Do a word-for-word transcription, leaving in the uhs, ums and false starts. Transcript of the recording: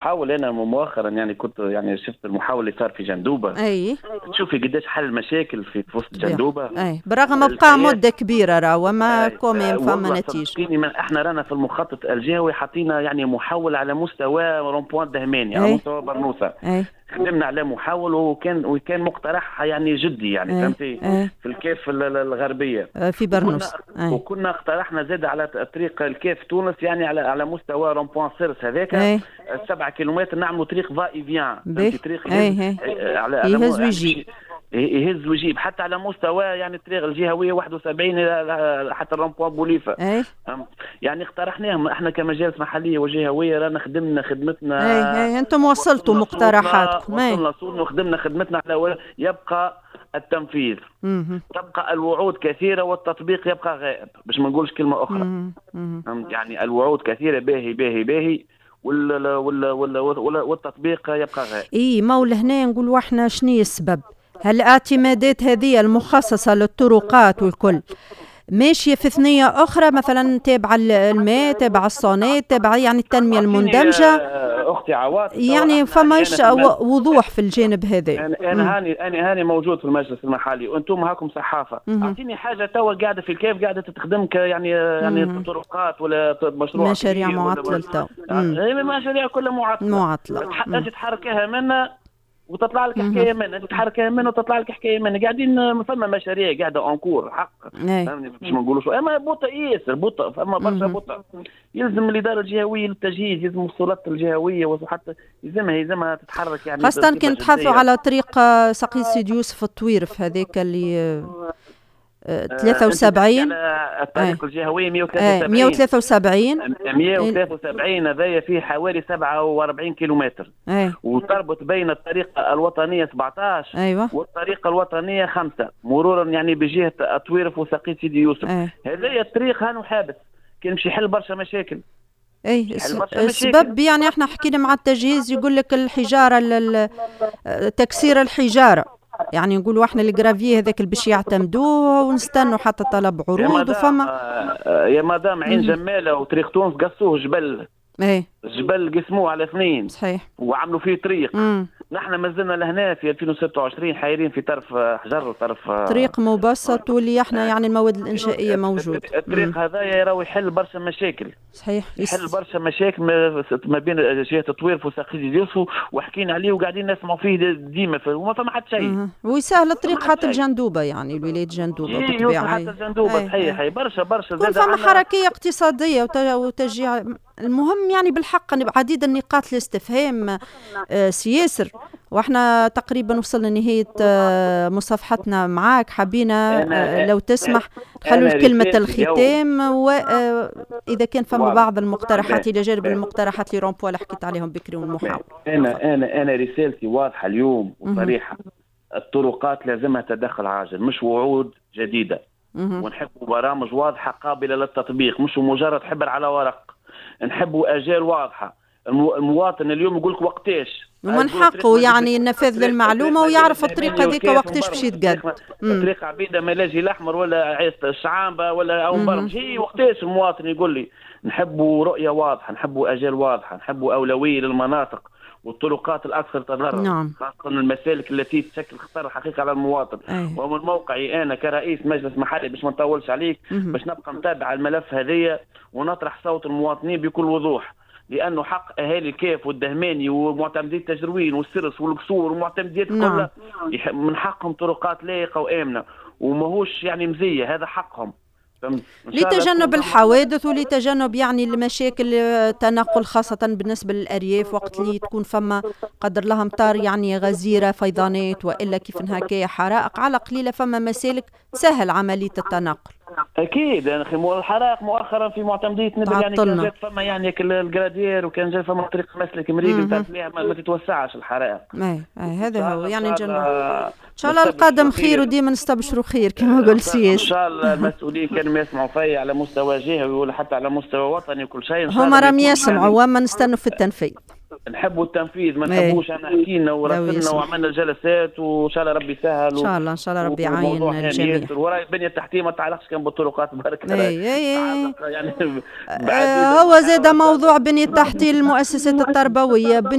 حاول انا مؤخرا يعني كنت يعني شفت المحاولة اللي صار في جندوبه. اي تشوفي قداش حل المشاكل في وسط جندوبه. اي برغم بقى مده كبيرة راه وما quand même فما نتيجة. من احنا رانا في المخطط الجهوي حطينا يعني محاولة على مستوى rond-point دهماني، على مستوى برنوسه. أي. خدمنا على محاول وكان وكان مقترح يعني جدي يعني فهمتي في الكاف الغربية في برنوس. وكنا, وكنا اقترحنا زاد على طريق الكاف تونس يعني على على مستوى rond-point سيرس هذاك سبعة كيلومتر نعملوا طريق va-et-vient، طريق على يهز ويجيب، يهز ويجيب حتى على مستوى يعني الطريق الجهوية واحد وسبعين حتى ال rond-point بوليفه. أي. يعني اقترحناهم احنا كمجالس محليه وجهويه، رانا خدمنا خدمتنا. اي اي انتم وصلتوا مقترحاتكم. وصلنا صوتنا وخدمنا خدمتنا على يبقى التنفيذ. مم. تبقى الوعود كثيرة والتطبيق يبقى غائب، باش ما نقولش كلمة اخرى. مم. مم. يعني الوعود كثيرة باهي باهي باهي وال وال وال والتطبيق يبقى غائب. اي ما ولهنا نقولوا احنا شنو السبب؟ هل الاعتمادات هذه المخصصة للطرقات والكل ماشية في ثنية أخرى، مثلا تابعة الماء، تابعة الصونات، تابعة يعني التنمية المندمجة؟ أختي عواطف يعني فماش وضوح في الجانب هذا. أنا, أنا هاني أنا هاني موجود في المجلس المحلي وأنتم هاكم صحافة. أعطيني حاجة توا قاعدة في الكيف قاعدة تتخدم يعني يعني طرقات ولا مشروع مشاريع معطلة تو. المشاريع كلها معطلة معطلة أنت تحركها منا وتطلع لك حكاية منه، تتحرك منه وتطلع لك حكاية منه، قاعدين فما مشاريع قاعدة en cours حق فهمني باش ما نقولوش، اما بطء ياسر بطء، فما برشا بطء. يلزم الادارة الجهوية للتجهيز، يلزم السلطات الجهوية وحتى يلزمها يلزمها تتحرك يعني، خاصة كي نتحدثوا على طريق سقيط سيدي يوسف الطويرف هذاك اللي ثلاثة وسبعين، الطريق الجهوية مئة وثلاثة وسبعين مئة وثلاثة وسبعين هذايا فيه حوالي سبعة وأربعين كيلومتر. أي. وتربط بين الطريق الوطنية سبعة عشر أيوة. والطريق الوطنية خمسة مرورا يعني بجهة الطويرف وسقيط سيدي يوسف. هذايا الطريق هانو حابس كان باش يحل برشا مشاكل. اي السبب يعني احنا حكينا مع التجهيز يقول لك الحجارة، تكسير الحجارة، يعني نقولوا احنا ال gravier هذاك اللي باش يعتمدوه ونستنوا حتى طلب عروض. وفما يا مدام عين جماله وطريق تونس قصوه جبل. ايه جبل قسموه على اثنين صحيح وعملوا فيه طريق. مم. نحن مازلنا لهنا في ألفين وستة وعشرين حايرين في طرف حجر وطرف طريق مبسط واللي احنا يعني المواد الانشائيه موجود. الطريق هذا راهو يحل برشا مشاكل. صحيح يحل برشا مشاكل ما بين جهة الطويرف وساقية يوسف، وحكينا عليه وقاعدين نسمعوا فيه ديما وما فما حتى شيء. ويسهل الطريق حتى الجندوبه يعني الولاية جندوبه بالطبيعة. حتى الجندوبه صحيح برشا برشا زاد فما حركية اقتصادية وتشجيع. المهم يعني بالحق عديد النقاط الاستفهام سياسر، واحنا تقريبا وصلنا لنهاية مصافحتنا معاك. حبينا لو تسمح خلوا كلمة الختام، واذا كان فما بعض المقترحات الى جانب المقترحات اللي rond-point اللي حكيت عليهم بكري والمحاور. انا انا انا رسالتي واضحة اليوم وصريحة، الطرقات لازمها تدخل عاجل، مش وعود جديدة. ونحبوا برامج واضحة قابله للتطبيق، مش مجرد حبر على ورق. نحبوا اجال واضحة. المواطن اليوم يقول لك وقتاش، ومن حقه يعني النفاذ للمعلومة ويعرف الطريق هذيك وقتاش باش يتقد. طريق عبيده ملاجي الاحمر ولا الشعامبه ولا او برمج، هي وقتاش المواطن يقول لي. نحبوا رؤية واضحة، نحبوا اجال واضحة، نحبوا اولوية للمناطق والطرقات الاكثر تضررا. نعم. خاصة المسالك التي تشكل خطر حقيقي على المواطن. أيه. ومن موقعي انا كرئيس مجلس محلي باش ما نطولش عليك، باش نبقى متابع الملف هذيا ونطرح صوت المواطنين بكل وضوح، لانه حق اهالي الكاف والدهماني ومعتمدي التجروين والسرس والقصور ومعتمديات نعم. كلها من حقهم طرقات لائقة وامنه وماهوش يعني مزية، هذا حقهم. لتجنب الحوادث ولتجنب يعني المشاكل التنقل خاصة بالنسبة للأرياف وقت اللي تكون فما قدر لها أمطار يعني غزيرة فيضانات وإلا كيف هكايا حرائق، على قليلة فما مسالك تسهل عملية التنقل. اكيد يعني الحرائق مؤخرا في معتمديه نبل يعني كان جات فما يعني ال gradure وكان جات فما طريق مسلك مريق نتاع ما, ما تتوسعش الحرائق. اي اي هذا هو يعني ان شاء الله القادم خير وديما نستبشروا خير كما قلت سياسي. ان شاء الله المسؤولين كانوا يسمعوا فيا على مستوى جهوي ولا حتى على مستوى وطني وكل شيء. هما راهم يسمعوا وما نستنوا في التنفيذ. نحبوا التنفيذ، ما نحبوش انا حكينا ورسلنا وعملنا جلسات، وان شاء الله ربي يسهل. ان شاء الله، ان شاء الله ربي يعين الجميع. وراي البنية التحتية ما تعلقش كان بالطرقات برك. اي اي يعني آه هو زاد موضوع بنيه التحتية للمؤسسات التربويه.